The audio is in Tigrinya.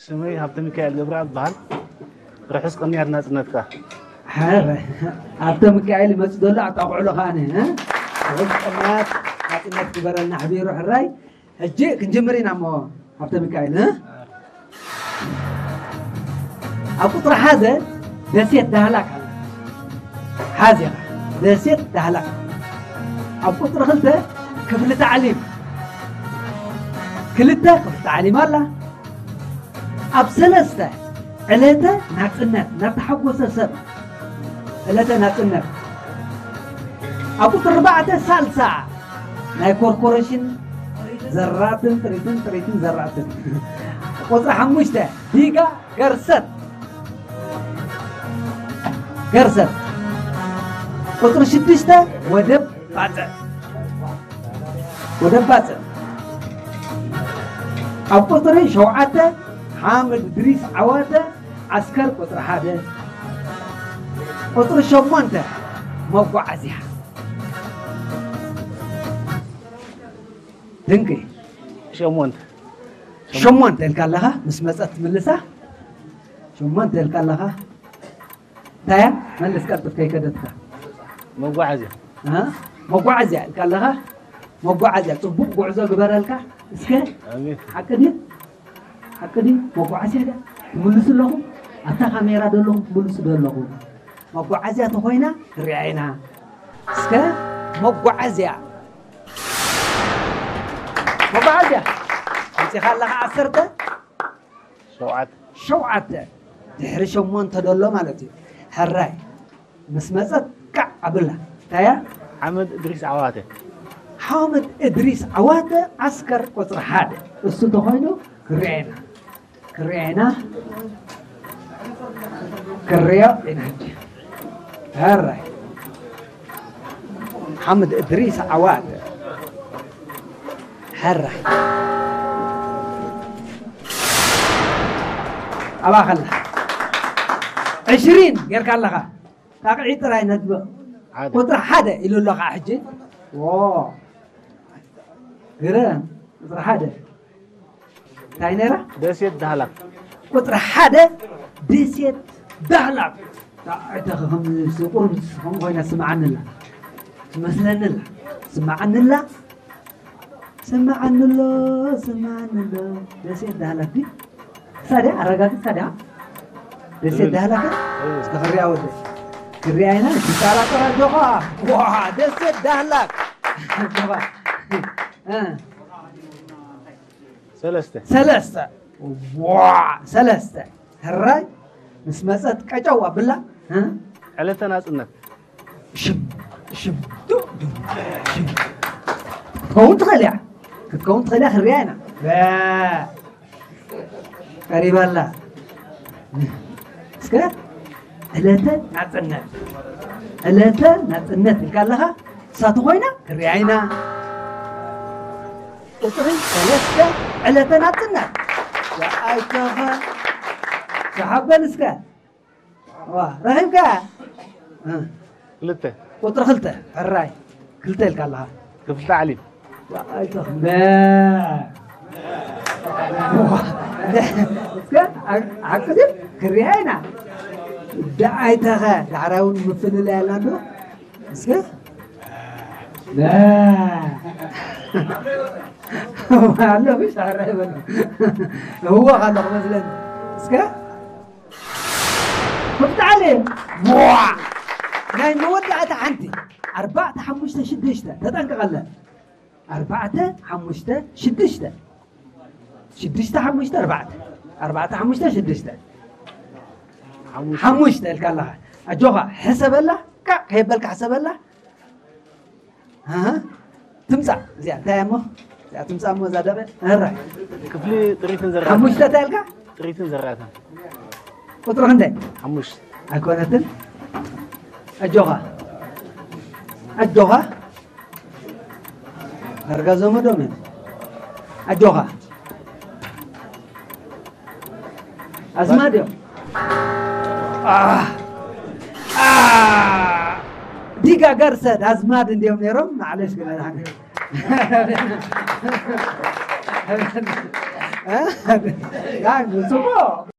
ስመይ ሃብተ ሚካኤል ገብረኣብ ይበሃል። ርሑስ ቅንያት ናጽነትካ። ሓረ ኣብተ ሚካኤል ይመጽእ ዘሎ ኣጣቕዕሎ ከኣነ እ? ርሑስ ቅንያት ናጽነት ግበረልና ሓቢሩ ሕራይ። ሕጂ ክንጅምር ኢና እሞ ሃብተ ሚካኤል እ? ኣብ ቁፅሪ ሓደ ደሴት ዳህላክ ኣላ። ሓዚኻ ደሴት ዳህላክ። ኣብ ቁፅሪ ክልተ ክፍሊ ታዕሊም ክልተ ክፍሊ ታዕሊም ኣላ። ኣብ ሰለስተ ዕለተ ናፅነት ናተሓጎሰ ሰብ ዕለተ ናፅነት። ኣብ ቁፅሪ ኣርባዕተ ሳልሳ ናይ ኮርፖሬሽን ዘራትን ጥሪትን ጥሪትን ዘራትን። ቁፅሪ ሓሙሽተ ዲጋ ገርሰት ገርሰት። ቁፅሪ ሽዱሽተ ወደብ ባፅዕ ወደብ ባፅዕ። ኣብ ቁፅሪ ሸውዓተ ሓምድ ድሪስ ዓዋተ ዓስከር ቁፅሪ ሓደ። ቁፅሪ ሸሞንተ መጓዓዝያ ድንቂ። ሸሞንተ ሸሞንተ ኢልካ ኣለኻ ምስ መፀት ትምልሳ። ሸሞንተ ኢልካ ኣለኻ እንታይ እያ? መልስ ቀልጥፍ ከይከደትካ። መጓዓዝያ እ? መጓዓዝያ ኢልካ ኣለኻ። መጓዓዝያ ፅቡቕ ጉዕዞ ግበረልካ። እስከ ኣሜን። ሓቂ ድዩ? ሓቂ ድዩ? መጓዓዝያ ድያ ትምልሱ ኣለኹም? ኣብታ ካሜራ ዶ ኣለኹም ትምልሱ ዶ ኣለኹም? መጓዓዝያ ተኾይና ክሪኣ ኢና። እስከ መጓዓዝያ መጓዓዝያ ኣምፂኻ ኣለኻ ዓሰርተ ሸውዓተ ሸውዓተ ድሕሪ ሸሞንተ ደሎ ማለት እዩ። ሕራይ ምስ መፀት ቃዕ ኣብላ እንታይ እያ? ሓመድ እድሪስ ዓዋተ ሓመድ እድሪስ ዓዋተ ዓስከር ቁፅሪ ሓደ እሱ ተኾይኑ ክርኤና ክርኤና ክርዮ ኢና ሕጂ። ሕራይ ሓመድ እድሪስ ዓዋተ ሕራይ ኣባኸላ ዕሽሪን ጌርካ ኣለኻ። ጣቕዒ ጥራይ ነጥብቕ። ሓደ ቁፅሪ ሓደ ኢሉ ኣሎ ከዓ ሕጂ። ዎ ግረ ቁፅሪ ሓደ እንታይ ነይራ? ደሴት ዳህላክ ቁፅሪ ሓደ ደሴት ዳህላክ። ጣቕዒ ተኸኸም ቁርብ ከም ኮይና ስምዓንላ ትመስለንላ ስምዓንላ ስምዓንሎ ስምዓንሎ። ደሴት ዳህላክ ድዩ? ሳድያ ኣረጋግጽ ሳድያ ደሴት ዳህላክ እስከ ክሪኣ ወደ ክሪኣ ኢና። ይጠራጠራ ጆኻ ዋ ደሴት ዳህላክ ጆኻ እ ሰለስተ ሰለስተ ዋ ሰለስተ ሕራይ ምስ መጸት ቀጨው ኣብላ እ ዕለተ ናጽነት ሽም ሽም ዱ ዱ ሽም ክትከውን ትኽእል እያ ክትከውን ትኽእል እያ ክሪኣ ኢና በ ቀሪባ ኣላ እስከ ዕለተ ናጽነት ዕለተ ናጽነት ኢልካ ኣለኻ እሳቱ ኮይና ክሪኣ ኢና ቁፅሪ ሰለስተ ዕለተ ናጽነት ኣይተኸ ሰሓበል እስከ ዋ ረኺብካ እ፣ ክልተ ቁፅሪ ክልተ ሕራይ ክልተ ኢልካ ኣለኻ ክፍሊ ታዕሊም ኣይተኽበ እስከ ሓቂ ድዩ ክሪኣ ኢና ደኣይተኸ ዳሕራይ እውን ምፍልላይ ኣላ ዶ እስከ በ ኣሎ ብሻዕረ ይበል እህወኽ ኣለኹ መስለኒ እስከ ክፍትዓለ ዋ ናይ መወዳእታ ሓንቲ ኣርባዕተ ሓሙሽተ ሽዱሽተ ተጠንቀቐለን ኣርባዕተ ሓሙሽተ ሽዱሽተ ሽዱሽተ ሓሙሽተ ኣርባዕተ ኣርባዕተ ሓሙሽተ ሽዱሽተ ሓሙሽተ ኢልካ ኣለኻ ኣጆኻ ሕሰበላ ካዕ ከየበልካ ሕሰበላ ትምፃእ እዚኣ እንታይ እሞ እዚኣ ትምፃእ እሞ እዛ ደቂ ራ ክፍሊ ጥሪትን ዘራትን ሓሙሽተ እንታይ ኢልካ ጥሪትን ዘራትን ቁፅሪ ክንደይ ሓሙሽተ ኣይኮነትን ኣጆኻ ኣጆኻ ዳርጋ ዘመዶም እዮም ኣጆኻ ኣዝማድ እዮም ዲጋ ገርሰድ ኣዝማድ እንዲዮም ነይሮም ማዕለሽ ግን እ? ያ፣ ጽቡቕ።